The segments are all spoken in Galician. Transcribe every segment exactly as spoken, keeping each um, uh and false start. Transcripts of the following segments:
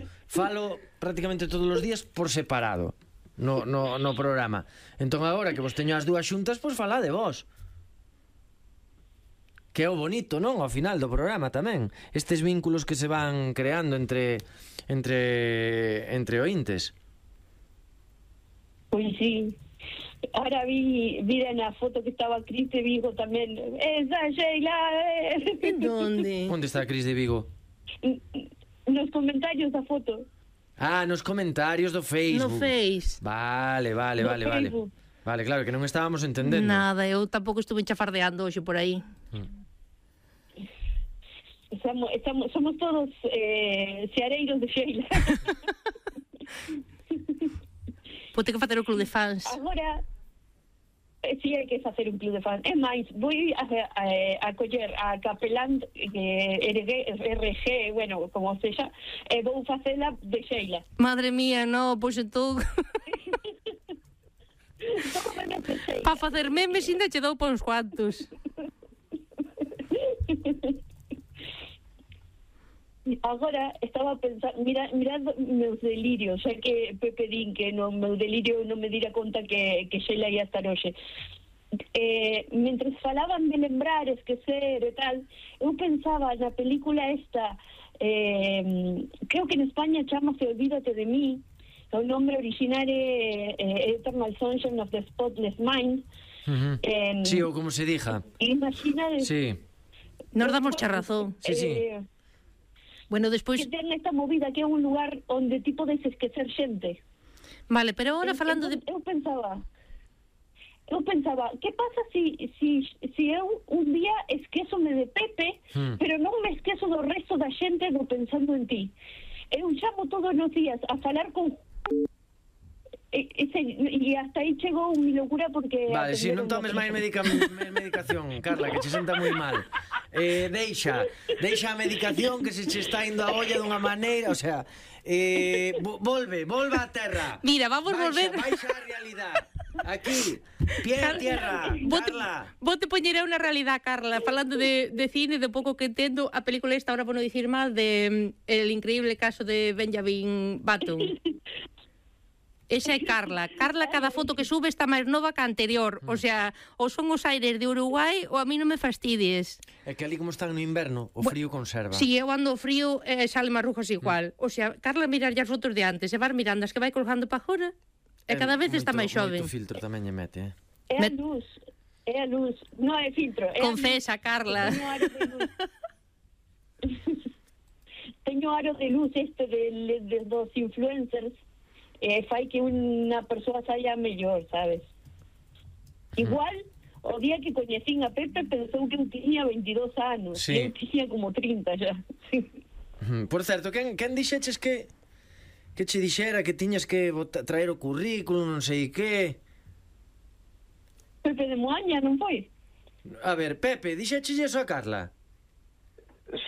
vos falo prácticamente todos os días por separado no, no, no programa. Entón agora que vos teño as dúas xuntas, pois falá de vos. Que é o bonito, non? Ao final do programa tamén. Estes vínculos que se van creando entre entre entre ointes. Pois sí. Ahora vi, vi na foto que estaba Cris de Vigo tamén. Esa Sheila, eh. En donde? Onde está a Cris de Vigo? Nos comentarios da foto. Ah, nos comentarios do Facebook. No Face. Vale, vale, No vale, vale. Facebook. Vale, claro, que non estábamos entendendo. Nada, eu tampouco estuve chafardeando hoxe por aí. Mm. Estamos, estamos, somos todos eh, seareiros de Sheila. Vou ter que facer o club de fans. Agora, eh, sí hai que facer un club de fans. É máis, vou a, a, a coller a capelán eh, R G, bueno, como sexa, e vou facela de Sheila. Madre mía, no, pois entón... Para facer memes ainda che dou pa uns cuantos. Agora estaba pensando, mira, mirad meus delirios, xa que Pepe din que no meu delirio non me dira conta que, que Sheila ia estar hoxe. Eh, mentres falaban de lembrar, esquecer e tal, eu pensaba na película esta, eh, creo que en España chamase Olvídate de mí, o nombre original é eh, Eternal Sunshine of the Spotless Mind. Uh-huh. eh, Sí, ou como se dixa. Imagina... Sí. Nos damos cha razón. Sí, sí. Eh, Bueno, despois... que ten esta movida que é un lugar onde ti podes esquecer xente. Vale, pero agora falando de... Eu pensaba, eu pensaba, que pasa si, si, si eu un día esquézome de Pepe, Hmm. pero non me esquezo do resto da xente do pensando en ti. Eu chamo todos os días a falar con... E, ese, e hasta aí chegou mi locura porque... Vale, si non tomes máis medica, medicación, Carla, que che senta moi mal. Eh, deixa, deixa a medicación que se che está indo a olla dunha maneira, o sea, eh, volve, volve á terra. Mira, vamos baixa, volver. Baixa a realidade. Aquí, pie a tierra, Carla. Vou te poñer unha realidade, Carla. Falando de, de cine, de pouco que entendo, a película esta, ahora por non dicir mal, de mm, El increíble caso de Benjamin Button. Esa é Carla. Carla, cada foto que sube está máis nova que a anterior. O sea, ou son os aires de Uruguai ou a mí non me fastidies. É que ali como están no inverno, o frío conserva. Si, eu ando frío e eh, sale marrujas igual. O sea, Carla mirar as fotos de antes e vas mirando as que vai colgando para agora e cada vez está máis xoven. Moito filtro tamén lle mete, eh? É a luz, é a luz, non é filtro. É Confesa, Carla. Teño aro de luz. Teño aro de luz este de, de, dos influencers. Eh, fai que unha persoa saia mellor, sabes? Igual, o día que coñecín a Pepe pensou que eu tiña veintidós anos, sí. E eu tiña como trinta xa. Por certo, quen, quen dixeches que que che dixera que tiñas que botar, traer o currículum, non sei que? Pepe de Moaña, non foi? A ver, Pepe, dixeches iso a Carla?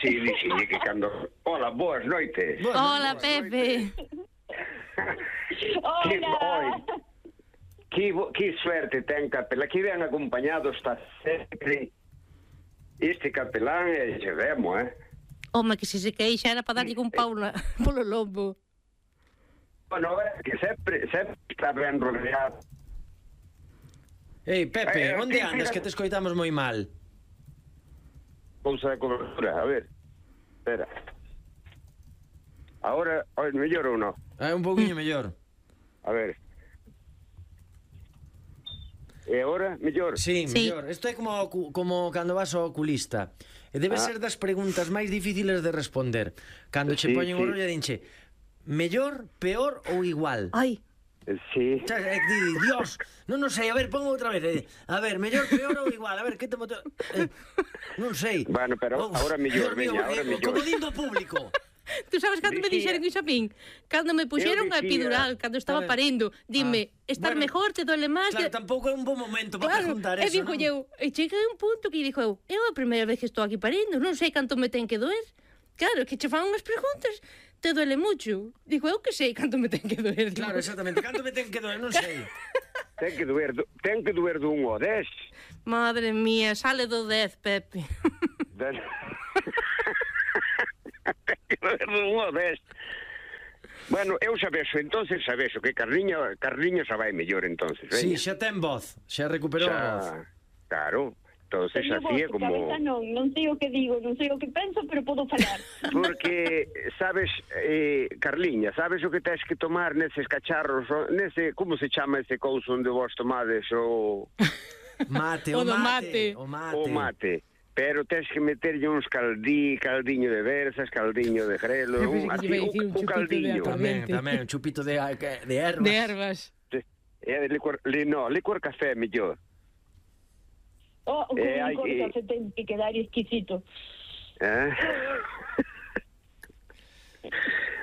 Sí, dixille que cando... Hola, boas noites. Bueno, Hola, boas Pepe. Hola. Que, que suerte ten capelán, que ben acompañado está sempre este capelán e se vemos, eh? Home, que se se queixa era para darlle un pau na, polo lombo. Bueno, é que sempre, sempre está ben rodeado. Ei, Pepe, Eh, onde sí, andas mira. que te escoitamos moi mal? Cousa de cobertura, a ver. Espera. Ahora, oi, mellor ou non? É un pouquiño mellor. A ver. E agora, mellor? Sí, Sí. mellor. Isto é como, como cando vas ao oculista. E debe Ah. ser das preguntas máis difíciles de responder. Cando che Sí, poñen o sí. rollo e dinche mellor, peor ou igual? Ai, Sí. Xa, é que di, Dios, non non sei, a ver, pongo outra vez. E di, a ver, mellor, peor ou igual? A ver, que te moto... Eh, non sei. Bueno, pero ahora mellor, Dios mío, veña, ahora eh, mellor. Como dindo público. tú sabes cando me Dicía- dixeron iso a min? Cando me puxeron a dicía- epidural, cando estaba A ver. parindo, dime, Ah, estar bueno, mejor, te duele máis? Claro, que- tampouco é un bon momento para Claro, preguntar e eso, dixo non? eu, e cheguei a un punto que dixo eu, é a primeira vez que estou aquí parindo, non sei canto me ten que doer. Claro, que che fan unhas preguntas, te duele mucho. Digo, eu que sei canto me ten que doer. digo. Claro, exactamente. Canto me ten que doer, non sei. Ten que doer, do- ten que doer do un ao dez. Madre mía, sale do dez, Pepe. Den- ten que doer do un ao dez. Bueno, eu sabexo, entonces sabexo que Carliño, Carliño xa vai mellor, entonces, Sí, veña. xa ten voz, xa recuperou a voz. Xa, claro, entonces Teño así é voz, como... cabeza non, non sei o que digo, non sei o que penso, pero podo falar. Porque, sabes, eh, Carliña, sabes o que tens que tomar neses cacharros, o- nese, como se chama ese couso onde vos tomades o, Mate, O o do mate, mate. o mate. o mate? Pero tens que meterlle uns caldí, caldiño de versas, caldiño de grelo, Eu pensei un, que así, lle iba a un, dicir un un chupito de caldiño. atún. Tamén, Corriente. tamén, un chupito de, de ervas. De ervas. É de licor, li, no, licor café mellor. Oh, con Eh, hai un que- corte ten que quedar exquisito. Eh?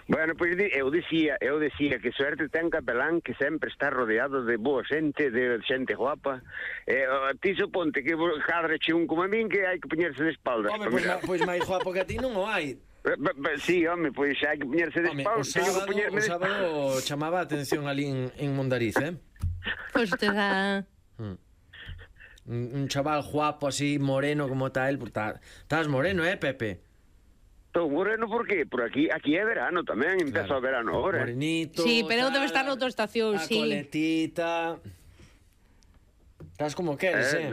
Bueno, pois pues, eu dicía, eu dicía que suerte ten Capelán que sempre está rodeado de boa xente, de xente guapa. Eh, ti suponte que cadreche un como a min que hai que poñerse de espaldas. Home, pois, ma, pois máis guapo que a ti non o hai. Eh, ba- ba- Sí, home, pois hai que poñerse de Home, o espaldas. Teño que sábado, poñerme o de sábado chamaba a atención ali en, en Mondariz, eh? Pois te dá... Un, un chaval guapo así, moreno como tal, estás moreno, eh, Pepe? Estou moreno por qué? Por aquí, aquí é verano tamén, empeza Claro. o verano agora. Morenito. Sí, pero eu debe tal, estar noutra estación, a sí. coletita. Estás como queres, eh?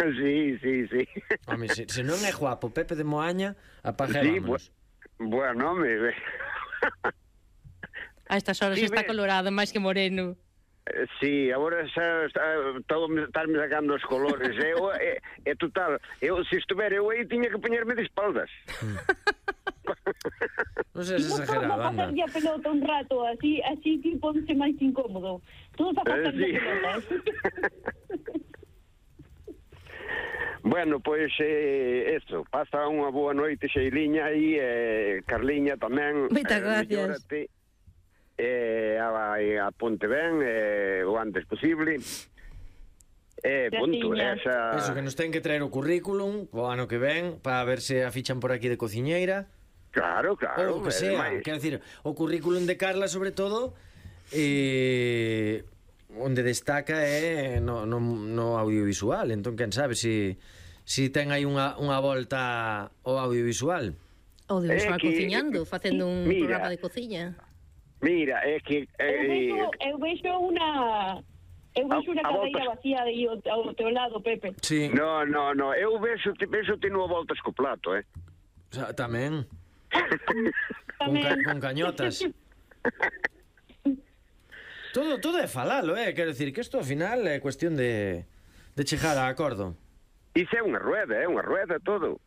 Eh, sí, sí, sí. Home, se, se non é guapo Pepe de Moaña, apague Sí, vámonos. bu bueno, me... A estas horas Sí, está ve- colorado, máis que moreno. Eh, Sí, agora xa está, todo me estarme sacando os colores. Eu, é, é total, eu se estuvera eu aí tiña que poñerme de espaldas. Non seas exagerado, Vamos a anda. pasar a pelota un rato, así, así que ponse máis incómodo. Todos a pasar Eh, sí. a pelota. Bueno, pois eh, eso, pasa unha boa noite Xeiliña e eh, Carliña tamén. Moitas eh, gracias. mellórate, Eh, a, a ponte ben eh, o antes posible. Eh, punto, Graciña. esa... Eso, que nos ten que traer o currículum o ano que ven para ver se a fichan por aquí de cociñeira. Claro, claro. Ou o que eh, sea, máis. quero dicir, o currículum de Carla sobre todo eh, onde destaca é no, no, no audiovisual, entón quen sabe se si, si ten aí unha, unha volta ao audiovisual. Audiovisual É que- cociñando, facendo un Mira. programa de cociña. Mira, é que... Eu Eh, vexo, eu vexo unha... Eu vexo A- unha a cadeira voltas- vacía aí ao, ao teu lado, Pepe. Sí, No, no, no, eu vexo, vexo te no voltas co plato, eh. o sea, tamén con, Tamén. ca, con cañotas. Todo, todo é falalo, eh? Quero dicir que isto ao final é cuestión de, de chegar a acordo. Iso é unha rueda, é unha rueda todo.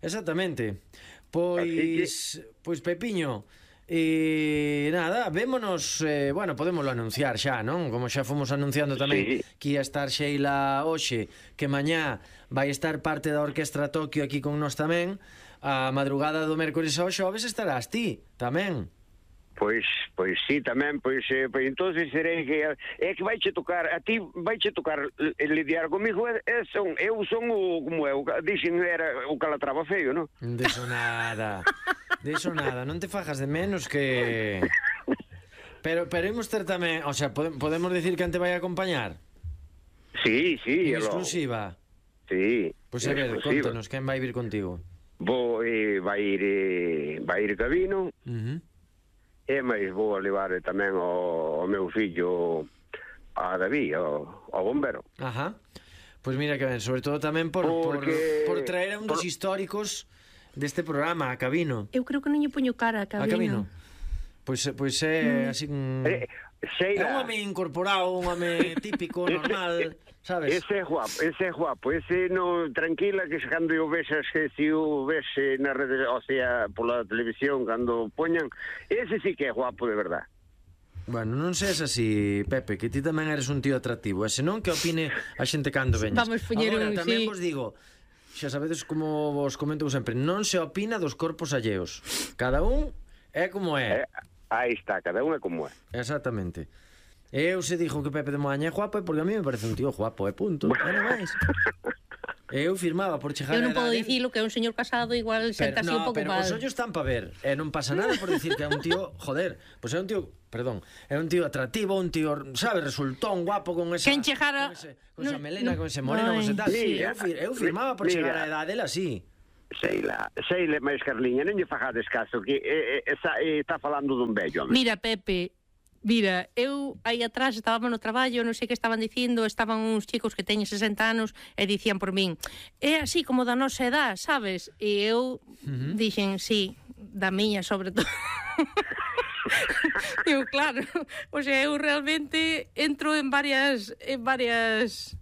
Exactamente. Así Pois, pois Pepiño, e nada, vémonos, eh, bueno, podémoslo anunciar xa, non? Como xa fomos anunciando tamén Sí. que ia estar Sheila hoxe, que mañá vai estar parte da Orquestra Tokio aquí con nós tamén, a madrugada do mércores ao xoves estarás ti, tamén. Pois, pois sí, tamén, pois, eh, pois entonces serei que é que vaiche tocar, a ti vaiche tocar eh, lidiar comigo, é, é son, eu son o, como eu, dixen era o calatrava feio, non? Deso nada, deso nada, non te fajas de menos que... Pero, pero imos ter tamén, o sea, pode, podemos decir que te vai a acompañar? Sí, sí, En é lo- exclusiva. Sí. Pois a ver, exclusiva. contanos, quen vai vir contigo? Vou, eh, vai ir, eh, vai ir Gabino, Uh -huh. e máis vou a levar tamén o, o meu fillo a David, o, o bombero. Ajá. Pois mira que ben, sobre todo tamén por, Porque- por, por traer a un dos por- históricos deste programa, a Cabino. Eu creo que non lle poño cara a A Cabino. Cabino. Pois, pois é así un... Eh, É Sheila, un home incorporado, un home típico, normal, sabes? ese é guapo, ese é guapo, ese no, tranquila que se cando eu vexas que si o ves eh, na rede, o sea, pola televisión cando poñan, ese sí que é guapo de verdad. Bueno, non seas así, Pepe, que ti tamén eres un tío atractivo. E senón que opine a xente cando veñas. Vamos poñer Agora, un, tamén sí. vos digo, xa sabedes como vos comento sempre, non se opina dos corpos alleos. Cada un é como é. Eh, aí está, cada unha como é. Exactamente. Eu se dixo que Pepe de Moaña é guapo é porque a mí me parece un tío guapo, é punto. E non máis. Eu firmaba por chegar Eu a non podo edade- dicilo que é un señor casado igual senta así un no, pouco pero mal. os ollos están pa ver. E non pasa nada por dicir que é un tío, joder, pois pues é un tío, perdón, é un tío atractivo, un tío, sabe, resultón, guapo con esa Quen chegara- con, ese, con esa no- melena, no- con ese moreno, con ese tal. Ay, Sí, sí. eu, fir, eu firmaba por Mira. chegar a edade el así. Seila, Seila máis Carliña, non lle fajades caso, que eh, eh, está, eh, está falando dun vello, home. Mira, Pepe, mira, eu aí atrás estábamos no traballo, non sei que estaban dicindo, estaban uns chicos que teñen sesenta anos e dicían por min, é así como da nosa edad, sabes? E eu uh-huh. dixen, sí, da miña sobre todo. Eu, claro, o sea, eu realmente entro en varias en varias